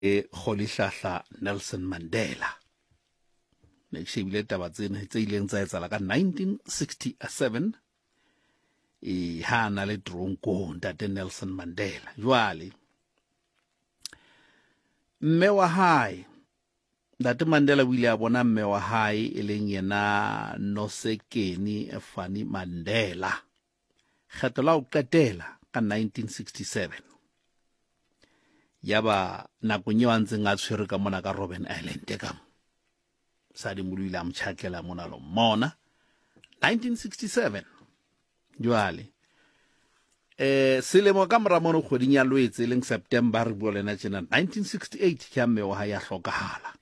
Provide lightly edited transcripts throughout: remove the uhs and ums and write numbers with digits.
Rolihlahla Nelson Mandela. Ne ke shebile taba tsena tse ileng tsa etsahala ka 1967 e ha na le tronkong ntate Nelson Mandela. Jwale mme wa hae Ntate Mandela o ile a bona mme wa hae e leng yena Nosekeni Fanny Mandela kgetlo la ho qetela ka 1967. Yaba nakong eo a ntseng a tshwerwe ka mona ka Robben Island ka mo mosadi molo ile a mo tjhakela mona lo mmona 1967. Jwale eh selemo ka mora mono kgweding ya Lwetse e leng September re bua le ena tjena 1968 ke ha mme wa hae a hlokahala.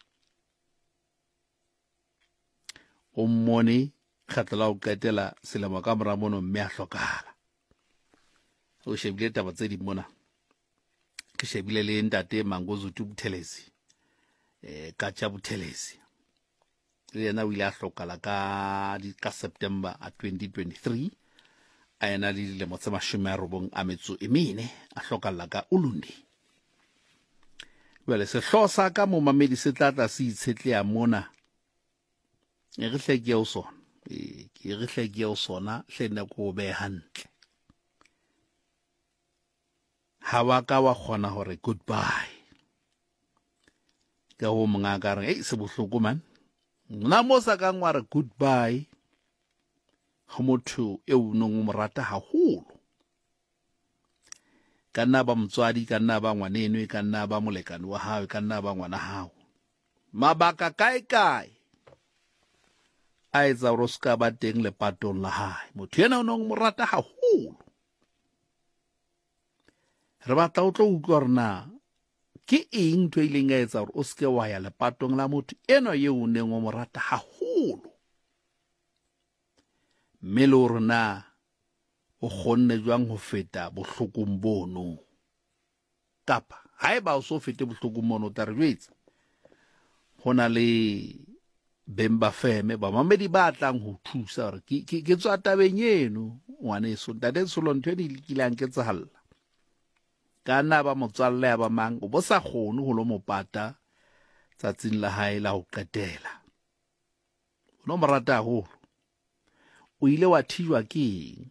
O mmone kgetlo la ho qetela selemo ka mora mono mme a hlokahala. O shebile taba tse ding mona. Ke shebile le ntate Mangosuthu Buthelezi eh Katsha Buthelezi le yena o ile a hlokala ka ka September a 2023 a ena le dilemo tse 98 a hlokalla ka Ulundi. Jwale sehlooho sa ka momamedi se tla tla se itshetleha mona. E re hle ke eo sona. E ke re hle ke eo sona hle nne ko behe hantle. Ha wa ka wa kgona hore goodbye. Ka ho monga ka re, "Ei se bohloko man." Nna mo sa kang wa re goodbye ho motho eo o neng o mo rata haholo. Ka nna ba motswadi, ka nna ba ngwaneno, e ka nna ba molekane wa hao, e ka nna ba ngwana hao. Mabaka kae kae a etsa hore o se ka ba teng lepatong la hae. Motho ena o neng o mo rata haholo. Re batla o tlo utlwa hore na ke eng ntho e ileng ya etsa hore o se ke wa ya lepatong la motho enwa eo o neng o mo rata haholo. Mme le hore na o kgonne jwang ho feta bohlokong bono. Kapa haeba o so fete bohlokong mono o tla re jwetsa ho na le beng ba feme bamamedi ba tlang ho thusa hore ke, ke, ke tswa tabeng eno ngwaneso ntate Tsholo ntho eno e kile ya nketsahalla ka nna ba motswalle ya ba mang o bo sa kgone ho lo mo pata tsatsing la hae la ho qetela o no mo rata haholo o ile wa thijwa ke eng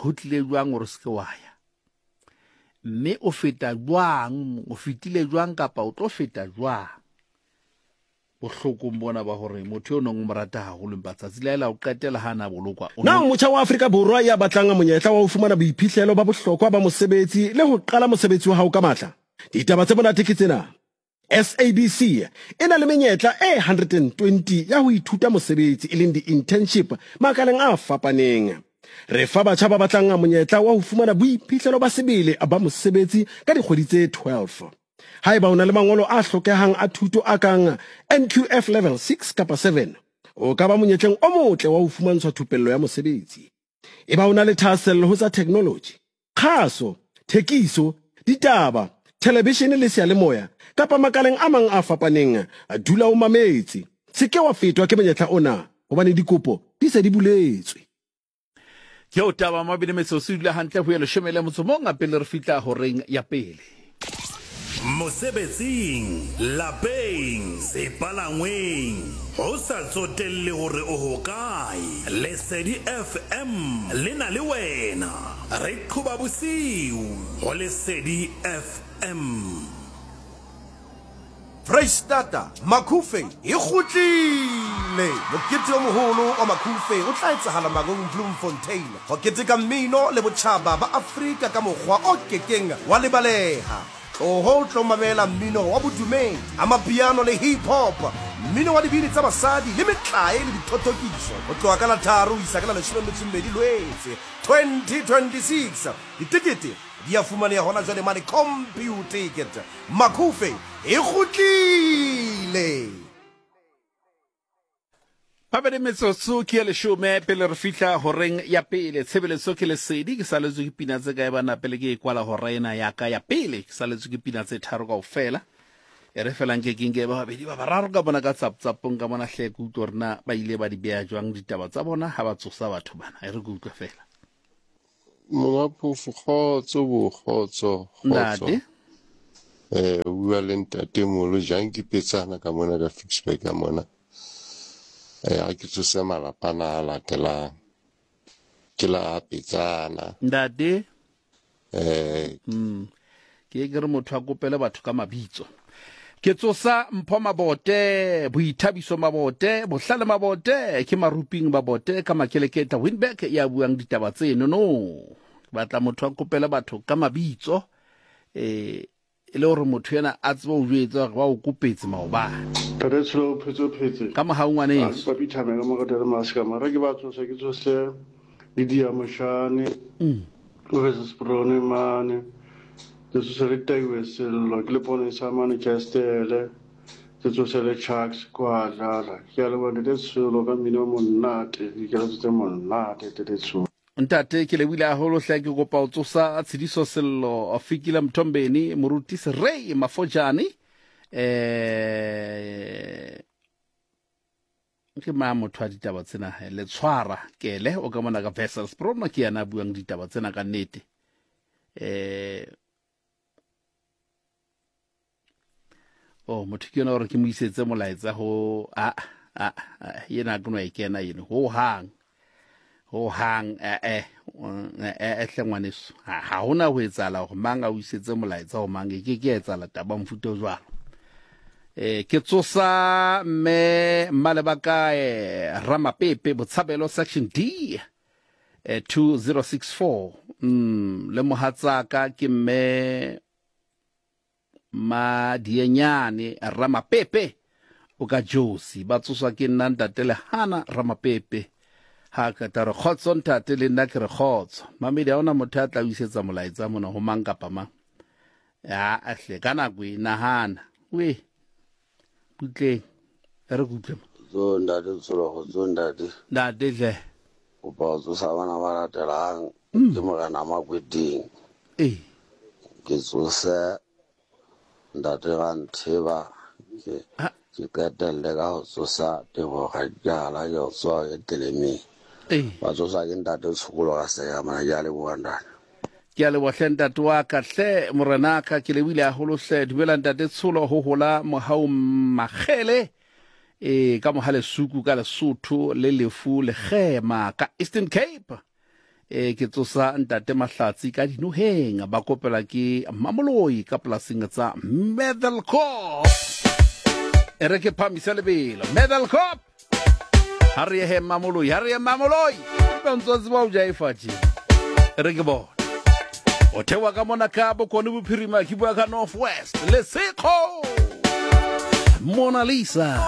ho tlile jwang hore se ke wa ya mme o feta jwang o fetile jwang kapa o tlo feta jwang bohlokong bona ba hore motho eo nong o mo rata haholo empa tsatsi la la o qetela ha na bolokwa Na o motjha wa Afrika Borwa ya batlang monyetla wa ho fumana boiphihlelo ba bohlokwa ba mosebetsi le ho qala mosebetsi wa hao ka matla? Ditaba tse monate ke tsena. SABC e na le menyetla e 120 ya ho ithuta mosebetsi e leng di-internship makaleng a fapaneng. Re fa batjha ba batlang monyetla wa ho fumana boiphihlelo ba sebele ba mosebetsi ka dikgwedi tse 12. Haeba o na le mangolo a hlokehang a thuto a kang NQF Level 6 kapa 7, o ka ba monyetleng o motle wa ho fumantshwa thupello ya mosebetsi. Eba o na le thahasello ho tsa theknoloji, kgaso, thekiso, ditaba, thelebishene le seyalemoya, kapa makaleng a mang a fapaneng, dula o mametse. Se ke wa fetwa ke monyetla ona, hobane dikopo di se di buletswe. Ke o taba mabedi metsotso e dula hantle ho ye leshome le motso mong pele re fihla horeng ya pele. Mosebetsing, lapeng, sepalangweng, ho sa tsotelle hore o hokae, Lesedi FM le na le wena. Re qhoba bosiu ho Lesedi FM. Freistata, Makhufe e kgutlile! Mokete o moholo wa Makhufe o tla etsahala Mangaung Bloemfontein ho keteka mmino le botjhaba ba Afrika ka mokgwa o kekeng wa lebaleha. Tloho o tlo mamela mmino wa bodumedi, amapiano le hip hop, mmino wa dibini tsa basadi le metlae le dithothokiso ho tloha ka la tharo ho isa ka la 12 Lwetse 2026. Ditekete di a fumaneha hona jwale mane Computicket. Makhufe e kgutlile! Mabedi metsotso ke ya leshome pele re fihla horeng ya pele. Tshebeletso ke lesedi, ke saletswe ke pina tse kae bana pele ke e kwala hora ena ya ka ya pele. Ke saletswe ke pina tse tharo kaofela. E re fela nke ke nke ba babedi ba bararo ka bona ka tsaptsapong ka bona hle ke utlwe hore na ba ile ba di beha jwang ditaba tsa bona ha ba tsosa batho bana. E re ke utlwe fela. Monga phofu kgotso bo kgotso kgotso. Ntate. Eh, o bua le ntate molo jang ke petsana ka mona ka Ficksburg ka mona. Eh, a ke tsose malapa na a latelang. Ke la petsana. Ntate. Eh. Mm. Ke ke re motho a kopele batho ka mabitso. Ke tsosa Mpho Mabote, Boithabiso Mabote, Bohlale Mabote, ke Maruping Mabote ka Makeleketla Winberg ya buang ditaba tseno no. Ke batla motho a kopele batho ka mabitso. Eh e le gore motho ena a tsebe o jwetsa gore ba o kopetse maobane. Ntate Tsholo o phetse o phetse. Ka mohau ngwaneso. Papi Thame ka mo ratela masika mara ke ba tsose ke tsose le dia moshane. Mm. O re sprone mane. Ke tsose le taiwe sello ke le pone sa mane Chestele. Ke tsose le Chucks kwa dlala. Ke a leboha Ntate Tsholo ka mmino o monate. Dikeletso tse monate Ntate Tsholo. Ntate ke lebohile haholo hle ke kopa o tsosa Tshidiso Sello Fikile Mthombeni Moruti Serei Mafojane eh ke ma motho a ditaba tsena le tshwara kele o ka mona ka Vessels Promo ke yena a buang ditaba tsena ka nnete eh oh motho ke yona gore ke mo isetse molaetsa go a a yena ke no e kena ene ho hang ho hang eh eh eh hle ngwaneso ha hona ho etsahala gore mang a o isetse molaetsa ho mang e ke ke etsahala taba mofuta o jwalo eh ke tsosa mme mmalebakae ramapepe botshabelo section D eh 2064 mm le mohatsaka ke mme Madienyane Ramapepe o ka Josi ba tsoswa ke nna ntate Lehana Ramapepe ha ka re kgotso ntate le nna ke re kgotso mamedi ha ona motho ya tla o isetsa molaetsa mona ho mang kapa mang ya ahle ka nako e nahana we butleng e re kutlwe Tso ntate Tshologo tso ntate. Ntate hle. Kopa ho tsosa bana ba latelang ke morena Makweteng. Ee. Ke tsose ntate Rantheba ke ke qetelle ka ho tsosa Tebogo Gadikala ke ho tsoha ke telemeng. Ee. Ba tsosa ke ntate Tshokolo ka Seka mona ke a leboha ntate. Ke a leboha hle ntate wa ka hle morenaka ke lebohile haholo hle dumela ntate Tsholo ho hola mohau Makgele e ka moha Lesuku ka Lesotho le lefu lekgema ka Eastern Cape e ke tsosa ntate Mahlatsi ka dinoheng ba kopela ke Mamoloi ka polasing tsa Medelkop e re ke phamise lebelo Medelkop ha re ye Mamoloi ha re ye Mamoloi ba ntse tseba o jaifa tje re ke bona o thewa ka mona ka bokone bophirima ke bua ka North West Lesekgo Mona Lisa.